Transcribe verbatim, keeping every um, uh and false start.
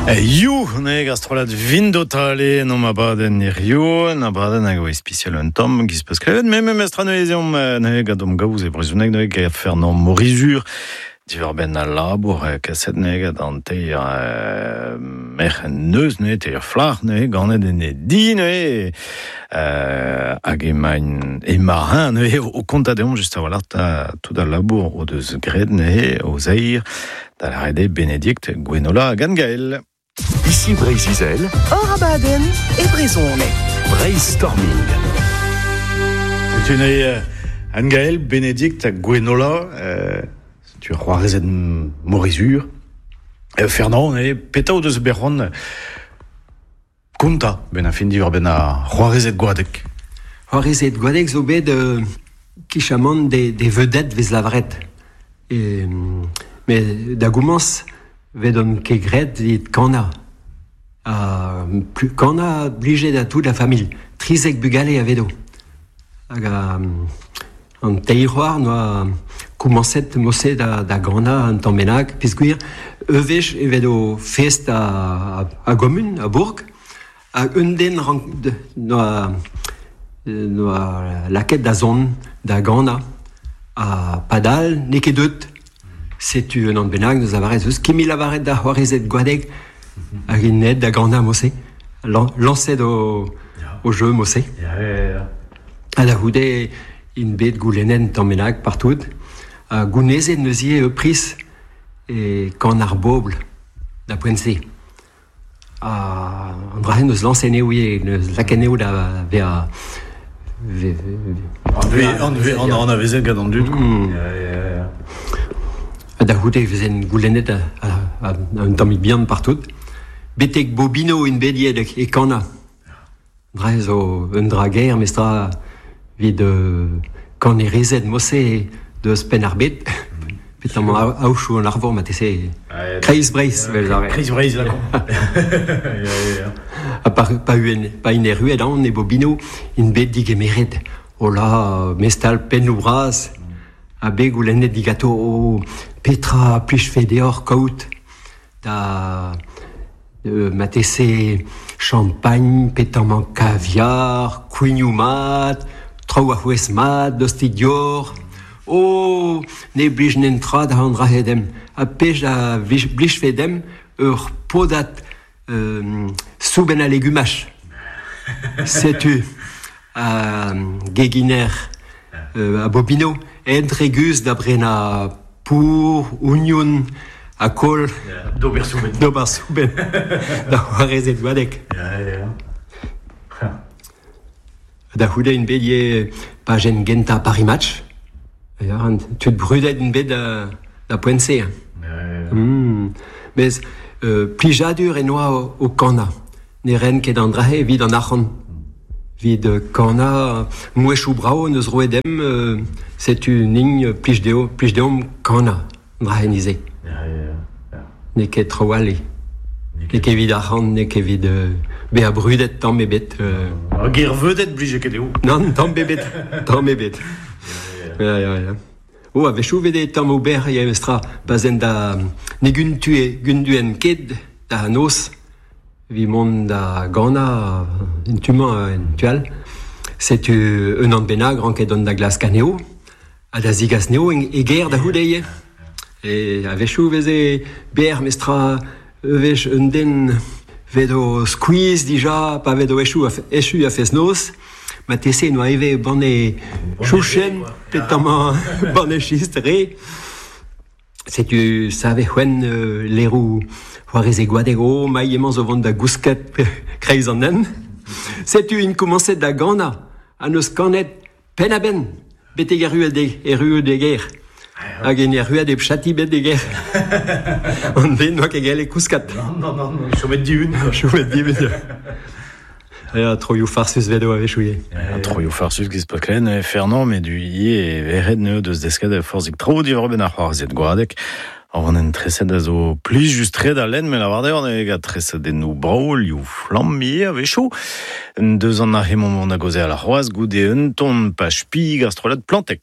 You, ne gastrolat vindotale no ma baden hirio, na baden hag oa ispicial un tamm giz peus klevet, me me mestra neuze ne gant gaoz e brezhoneg ne gant Fernand Morizur, diwar benn al labour kaset ne gant an teir euh, merc'h neuz ne teir flac'h ne ganet en e di ne euh, hag emañ emañ ne o konta deomp just a-walc'h ta tout al labour o deus graet ne o zeir da lâret eo Bénédicte Gwenola hag Anne-Gaëlle. Ici Breizh-Izel, Hor abadenn e brezhoneg. Brainstorming. Setu neuze Anne-Gaëlle, Bénédicte hag Gwenola, euh, setu c'hoarezed Morizur. Euh, Fernand, ne petra o deus bet c'hoant konta ben a fin diwar benn ar c'hoarezed Goadeg. C'hoarezed Goadeg zo bet euh, kichamant des, des vedettes vez lavaret. E, mais da gomañs vet on ket graet evit kana. Ha plus kana blije da tout la familh. Trizek bugale a vedo. Hag a, an teir c'hoar noa komañset mose da, da gana an tamm bennak, peogwir ur wech e vedo fest a, a, a gomun, a bourg, hag un den rank, de, noa, noa lakaet da zont da gana, ha padal n'eo ket deut. Setu un an bennak neus lavaret eus ket mil lavaret da c'hoarezed Goadeg hag int aet da gana mose. Lan, lañset o, o jeu mose. Ya, ya, ya. Ha da c'houde int bet goulennet tamm bennak partout. Ha gounezet neuze ur priz e kan ar bobl da poent-se. Ha an dra-se neus lañset anezho ivez, neus lakaet anezho da vezañ ve, ve, An ve, an, an anavezet gant an dud. Mm. Ya, ya, ya. Ha da c'houde e vezen goulennet a, a, a, un tammig bihan partout. Betek Bobino int bet ivez e kana. Dra zo un dra gaer, mestra evit euh, kanerezed mose deus penn ar bed. Petamant aochoù an arvor marteze. Kreiz Breizh, vel lavaret. Kreiz Breizh, la Ya, ya, ya. Ha pa, pa uen, pa int erruet an e Bobino, int bet digemeret. Hola, mestal pennoù bras, ha bet goulennet digato o petra plijfe deoc'h kaout da euh, marteze champagne, petamant caviar, kouignoù mat, traoù a c'hwez mat, dostig dior. O, ne blij netra da an dra-se demp. Ha pej a blijfe demp ur podad euh, soubenn a legumaj. Setu a geginer euh, a Bobino, entre guz da brenañ pour, oignon, ha kol. Ya, d'ober soubenn. D'ober soubenn. Da c'hoarezed Goadeg. Ya, ya, ya. Da c'houde int bet ivez pajenn gentañ Paris Match. Ya, an tud brudet int bet da, da poent-se. Ya, ya, ya. Mm. Mez euh, plijadur e noa o, o kana. Ne ren ket an dra-se evit an arc'hant. Evit euh, kana mouezhioù brav neus roet demp, euh, setu nin plij dezho, plij deomp kana an dra-se nize. Ya, ya, ya. N'eo ket traoù all eo. N'eo N'eo ket evit arc'hant, n'eo ket evit euh, bezañ brudet tamm ebet. Euh... Ar ger vedet blije ket dezho. Nann, tamm ebet, tamm ebet. Ya, ya, ya. O, a-wechoù vede tamm ober ya mestra, pa zen da ne guntue, gunduen ket da noz, vi mont da gana en tu-mañ en tu all. Setu un an bennak ranket dont da glask anezho, ha da zigas anezho en, e ger da c'houde ivez. E a-wechoù veze berr mestra ur wech un den vedo skuizh dija, pa vedo echu a, echu a fest-noz, marteze noa ivez banne chouchen, petamant banne chistr re. Setu save c'hwen euh, leroù c'hoarezed Goadeg, o mailh emañ zo vont da gousket kreiz an hent. Setu int komañset da ganañ, ha neus kanet penn-a-benn, betek erruet de, erruet de ger. Hag en erruet e chati bet de ger. An den noa ket gellet kouskat. Non, non, non, non, chomet dihun. Chomet dihun. Ya, troioù farsus vedo a-wechoù ivez. Ya, troioù farsus giz pa klen, Fernand, met du ivez e veret neu deus desket a forzhik tro diwar benn ar c'hoarezed Goadeg. Ar an treset a zo plij just tre da lenn, met lavar deoc'h ne gant treset enno brav, liv flamm ivez a-wechoù. Deus an ar hemañ mont a gaozeal ar c'hoazh goude un ton pach pig ar strollad Plantec.